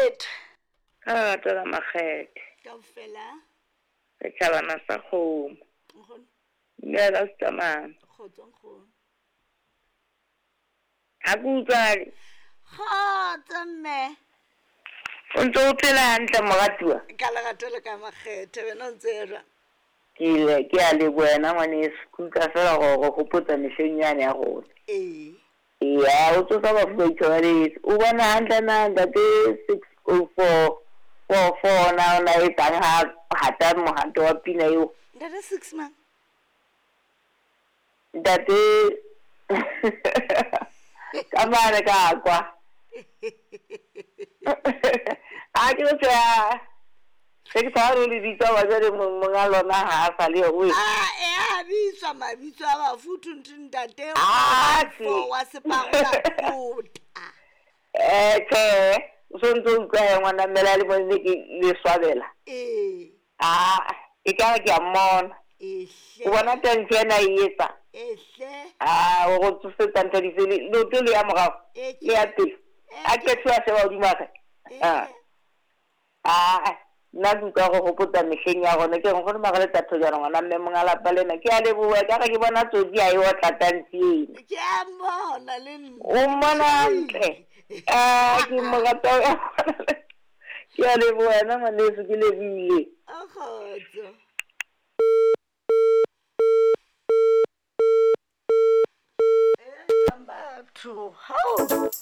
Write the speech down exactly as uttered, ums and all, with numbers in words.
Makgethe. Ka lerato la Makgethe. Kaofela. Setjhabana sa kgomo. Nkgono. Mme a ka se tsamaya. Kgotso nkgono. Ha ke utlwale. Kgotso mme. O ntso o phela hantle moratuwa? Ka lerato le ka Makgethe wena o ntse jwang? Ke ile ke a leboha wena ngwaneso. Ke utlwa fela gore o hopotsa mehleng yane ya rona. Ee. Eya, o tsosa bafu ba ithobaletse. O bona hantle na ntate six oh four four four na o na etsang ha hata mohato wa pina eo? Ntate six mang? Ntate ka mane ka kwa. A ke re tjhe, se ke tshaba le lebitso wa jwale monga lona ha a sa le eo. Ah, e a bitswa mabitso a bafu thunthu ntate Ah, four wa separola kota. Eh, tjhe, o so ntso o utlwa he ngwana mmele a le mone ke le swabela. Ee. Ah, e ka re ke a mmona. Ehle. O bona tantshi ena e etsa. Ehle. Ah, o go tsosetsa ntho di sele, leoto le ya morao, E le ya pele. A qethiwa a sheba hodimo a ka. Ah. Ah, nna ke utlwa go hopotsa mehleng ya rona. Ke re nkgono Magaletsa Thojana ngwana mme monga lapa lena. Ke a leboha, ka re ke bona tsotsi ha e otla tantshi ena. Ke a mmona le nna. O mmona hantle. Ah, ke mo rata. Ke a leboha wena ngwaneso, ke lebohile. A kgotso. Batho, hao.